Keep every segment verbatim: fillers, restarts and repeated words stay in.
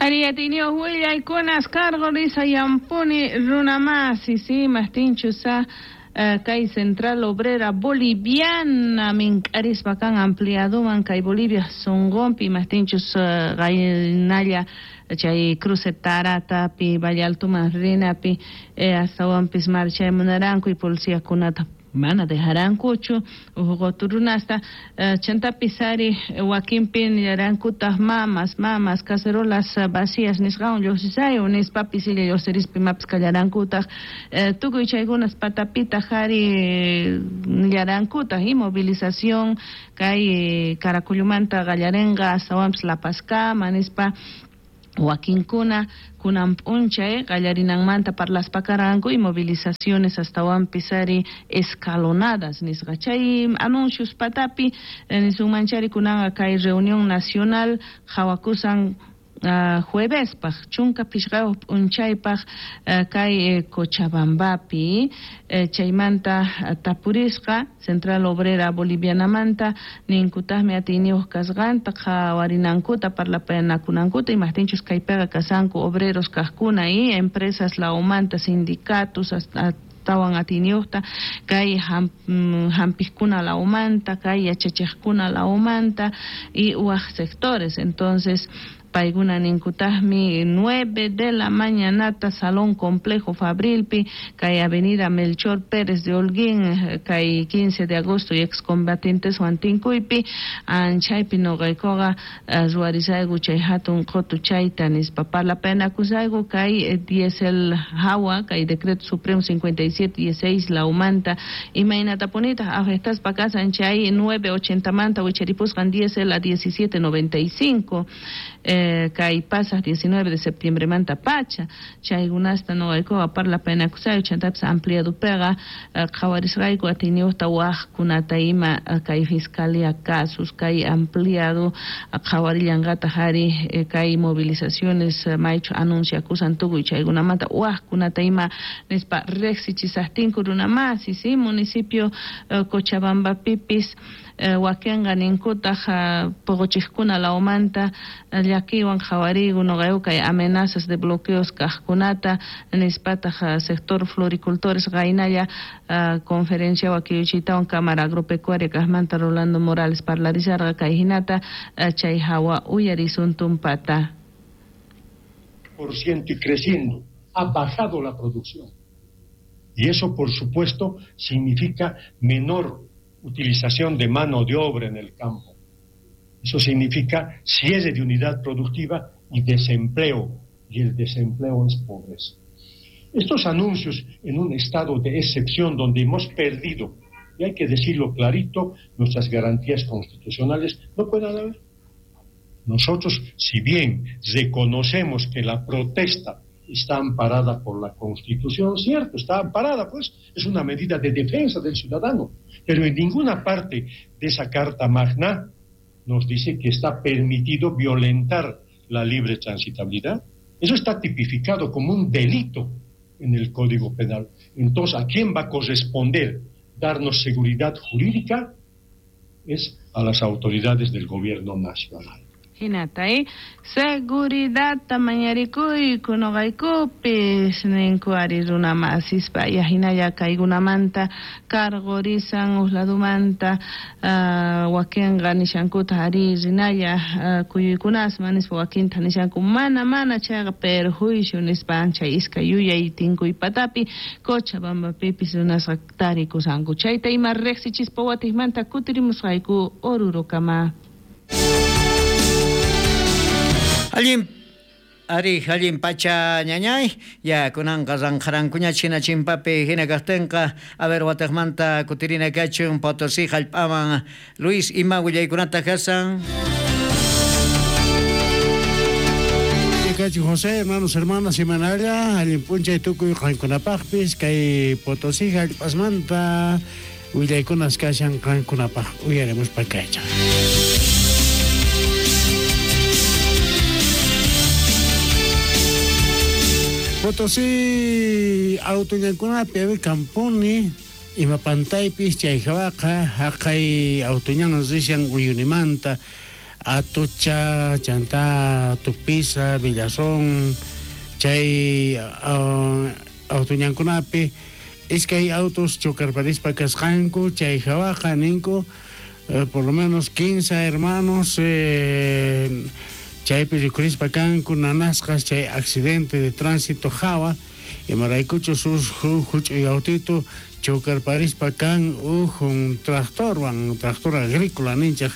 Ari atiyniyuq willaykunas qarqurisayanpuni runamasi, sí, mastinchusa kay Central Obrera Boliviana mink'arispa kan ampliaduman kay Bolivia sunqunpi mastinchus qaynalla chay cruce Taratapi Valle Altoman rinapi astawanpis marchaymunaranku y policiakunata mana dejarankuchu uqu runasta chantapis ari wakinpi nillarankutaq mamas mamas cacerolas vacías nisqawan lluqsisayu nispapis illa lluqsirispa imapis kallarankutaq tukuy chaykunas patapitaq ari nillarankutaq y movilización kay Caracullumanta qallarinqa astawanpis La Pazkama nispa wakinkuna kunan p'unchay qallarinanmanta parlaspa karanku y movilizaciones astawanpis ari escalonadas nisqa chay anuncios patapi nisunmanchari kunanqa kay reunión nacional qhawakusan Uh, juevespaj chunka pishqayuq p'unchaypaj uh, kay eh, Cochabambapi eh, chaymanta uh, tapurisqa Central Obrera Bolivianamanta ninkutaqmi atiyniyuq kasqanta qhawarinankuta parlapayanakunankuta imaqtinchus kaypiqa kasanku obreros kaqkuna y empresas lawmanta sindicatos hasta tawan atiyniyuqta kay hampiqkuna lawmanta kay yachachiqkuna lawmanta y waq sectores. Entonces paykuna ninkutaqmi nueve de la mañanata Salón Complejo Fabrilpi kay Avenida Melchor Pérez de Holguín kay quince de agosto y excombatientes Huantinkuypi anchaypi noqaykuqa ruwarisayku chay hatun qutu chayta nispa parlapayanakusayku kay diesel hawa kay decreto supremo cincuenta y siete dieciséis lawmanta imaynatapunitaq afectaspa kasan chay nueve ochentamanta wicharipusqan diesel a diecisiete noventa y cinco eh, kay pasaq diecinueve de septiembre manta pacha chaykunasta noqaykuqa parlapayanakusayku chantapis ampliadupiqa qhawarisqayku atiyniyuqta waqkunata ima kay fiscalía casos kay ampliado qhawarillanqataq ari kay movilizaciones maychu anunciakusan tukuy chaykunamanta waqkunata ima nispa riqsichisaqtinku runamasi, sí, municipio Cochabambapipis wakinqa ninkutaq puquchiqkuna lawmanta llakiwan qhawariyku noqayku kay amenazas de bloqueos kaqkunata nispataq sector floricultores qaynalla conferencia wakiyuchiytawan Cámara Agropecuaria kaqmanta Rolando Morales parlarisharqa kay hinata chay hawa uyarisun tumpata. Por ciento y creciendo, ha bajado la producción. Y eso, por supuesto, significa menor utilización de mano de obra en el campo. Eso significa cierre de unidad productiva y desempleo, y el desempleo es pobreza. Estos anuncios en un estado de excepción donde hemos perdido, y hay que decirlo clarito, nuestras garantías constitucionales no pueden haber. Nosotros, si bien reconocemos que la protesta está amparada por la Constitución, cierto, está amparada, pues, es una medida de defensa del ciudadano, pero en ninguna parte de esa Carta Magna nos dice que está permitido violentar la libre transitabilidad. Eso está tipificado como un delito en el Código Penal. Entonces, ¿a quién va a corresponder darnos seguridad jurídica? Es a las autoridades del gobierno nacional. Hinata, eh? Seguridad mañarikuyku noqaykupis ninku ari runamasispa ya hinalla kaykunamanta qarqurisan uqladumanta uh, wakinqa nishankuta ari rinalla uh, kuyuykunasman nispa wakinta nishanku mana mana chayqa perjuicio nispa anchay iskay yuyay tinkuy patapi Cochabambapipis runasqa tarikusanku chayta ima riqsichispa watiqmanta kutirimusqayku Orurokama. Allin ari allin pacha ñañay ya kunanqa ranqharankuña china chimpapi hina kaqtinqa a ver wataqmanta kutirina kachun Potosí hallp'aman Luis ima willaykunata kasan. Kachi José, hermanos, hermanas, semanalla allin p'unchay tukuy qankunapaqpis kay Potosí hallp'asmanta willaykunas kashan qankunapaq uyarimuspa kaycha. Potosí autoñankunapi a ver kampuni ima pantaypis chay hawaqa haqay autoñan rishan Uyunimanta Atocha, Chantá, Tupiza, Villazón, chay uh, autoñankunapi iskay autos chocarparispa kasqanku, chay hawaqa ninku eh, por lo menos quince hermanos eh, chaypi rikurispa kanku nanasqas chay accidente de tránsito hawa imaraykuchu sus huch'uy autito chocarparispa kan uj un tractorwan, tractor agrícola ninchaj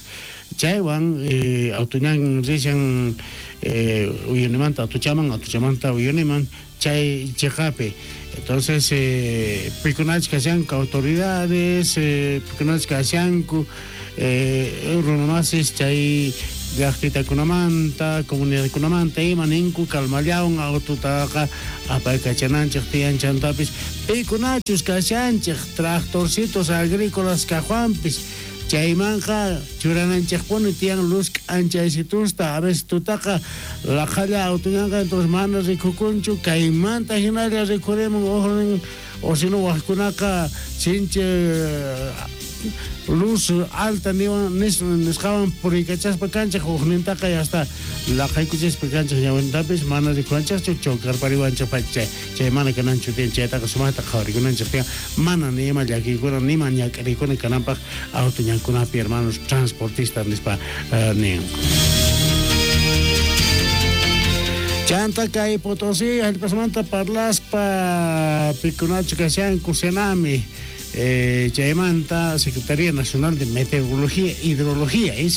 chaywan eh, autoñan rishan eh, uyunimanta atuchaman, atuchamanta uyuniman chay cheqapi. Entonces eh, pikunach kashanku autoridades, eh, pikunach kashanku eh, runamasis chay llaqtitakunamanta, comunidadkunamanta ima ninku kalmallawan autotaqa apaykachananchej tiyan chantapis pikunachus kashanchej tractorcitos agrícolas kajwanpis chaymanqa churananchejpuni tiyan luz k'anchaysitusta a veces tutaqa laqhalla autoñanqa entonces mana rikukunchu kaymanta hinalla rikurimun ujnin o si no wajkunaqa sinchi luz alta niwan nisqawan puriykachaspa kanchej ujnintaqa hasta laqhaykuchispa kanchej ñawintapis mana rikuwanchejchu chocarpariwanchej pacha chay mana kananchu tiyan chaytaqa sumaqta qhawarikunanchej tiyan mana ni ima llakiykuna ni ima ñak'ariykuna kananpaq autoñankunapi hermanos transportistas nispa uh, ninku. Chanta kay Potosí hallp'asmanta parlaspa pikunachu kashanku Senami Eh, chaymanta Secretaría Nacional de Meteorología e Hidrología, eh,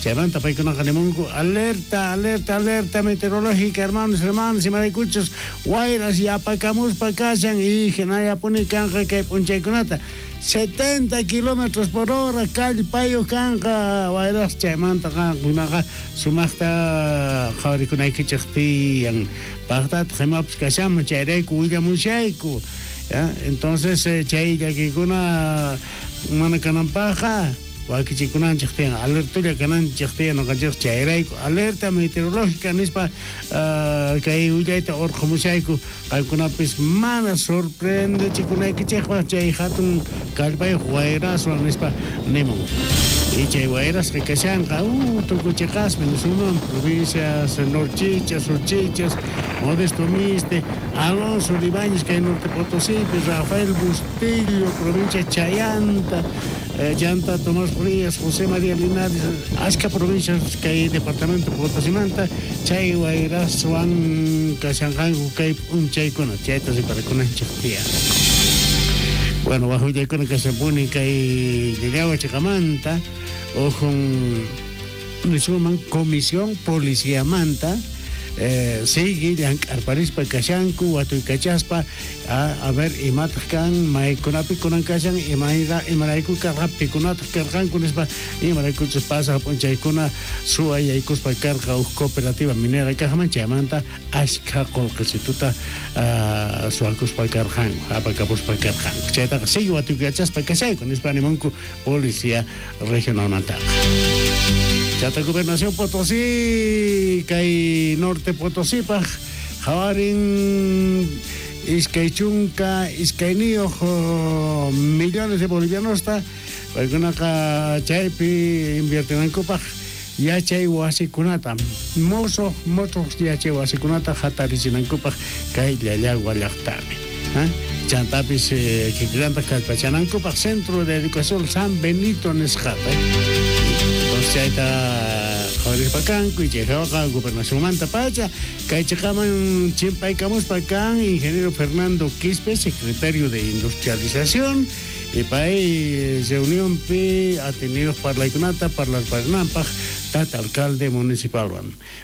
chaymanta paykunaqa nimunku alerta, alerta, alerta meteorológica, hermanos, hermanas, imaraykuchus wayras yapakamuspa kashan y hinallapuni kanqa kay p'unchaykunata setenta kilómetros por hora kallpayuq kanqa wayras chaymanta qankunaqa sumaqta qhawarikunaykichej tiyan paqtataq imapis kashanman chayrayku willamushayku. ¿Ya? Entonces eh, chay llakikuna mana kananpajqa wakichikunanchej tiyan alertulla kananchej tiyan noqanchej chayrayku alerta meteorológica nispa uh, kay willayta urqhumushayku qankunapis mana sorprendechikunaykichejpaj chay hatun kallpayuq wayraswan nispa nimun. Y chay wayrasqa kashanqa uh, tukuchiqasmi nisunman provincias Norchichas, Surchichas, Modesto Miste, Alonso de Ibáñez kay Norte Potosí, Rafael Bustillo, provincia Chayanta, eh, Llanta Tomás Frías, José María Linares, ashka provincias kay departamento Potosimanta, chay wayraswan kashanqanku kay p'unchaykuna, chayta riparakunanchej tiyan. Bueno, bajo yaykuna kashanpuni kay Llallagua chiqamanta, ujun nisuman comisión policiamanta eh, sigue llank'arparispa kashanku watuykachaspa a, a ver imataq kan maykunapi kunan kashan imayra imarayku karqa pikunataq karqanku nispa imaraykuchus pasaq p'unchaykuna suwa yaykuspa karqa uj cooperativa minera kaqman chaymanta ashkha qullqisituta uh, suwakuspa karqanku apakapuspa karqanku chaytaqa sigue watuykachaspa kashayku nispa nimunku policía regionalmantaqa. Chata Gobernación Potosí kay Norte Potosípaj hawarin iskay chunka iskayniyuq millones de bolivianosta paykunaqa chaypi inviertinankupaj yachay wasikunata mosoq mosoq yachay wasikunata hatarichinankupaj kay Llallagua llaqtapi. ¿Eh? Chantapis eh, kikillantaq kallpachanankupaj Centro de Educación San Benito nisqata. Entonces chayta qhawarispa kanku y chayqa gobernacionmanta pacha kay chiqaman chimpaykamuspa kan ingeniero Fernando Quispe, secretario de Industrialización, y pay reunionpi atenidos parlaykunata parlarparinampaj tata alcalde municipal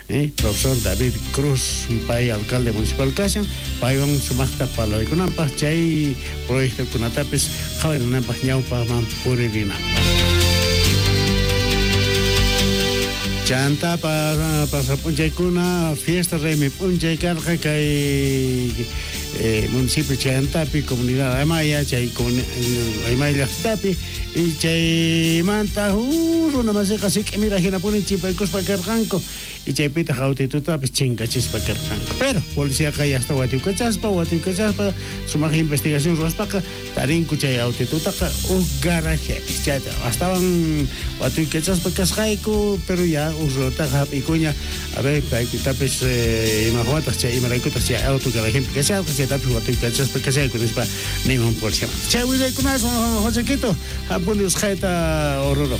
eh, profesor David Cruz pay alcalde municipal kashan paywan sumaqta parlaykunampaj chay proyectokunatapis qhawarinanpaj ñawpaqman puririnampaj. Chanta pa pasap'unchaykuna fiesta raymi p'unchay karqa kay eh, municipio Chantapi, comunidad Aymaya, chay Aymaya llaqtapi y chaymanta uh, runa masiqa sik'imira hinapuni chimpaykuspa karqanku Y chaypitaq autitutapis chinkachispa karqanku. Pero policiaqa yasta watiykachaspa, watiykachaspa, sumaq investigación ruwaspaqa tarinku chay autitutaqa uj garajepi. Chayta astawan watiykachaspa kasqayku, pero ya uj runataqa hap'ikuña, a ver, paypitapis eh, imajwataq chay imaraykutaq chay auto garajepi kasharqa, chaytapis watiykachaspa kashayku nispa nimun policiamanta. Chay willaykunaswan Josequito, hampuni usqhayta Oruro.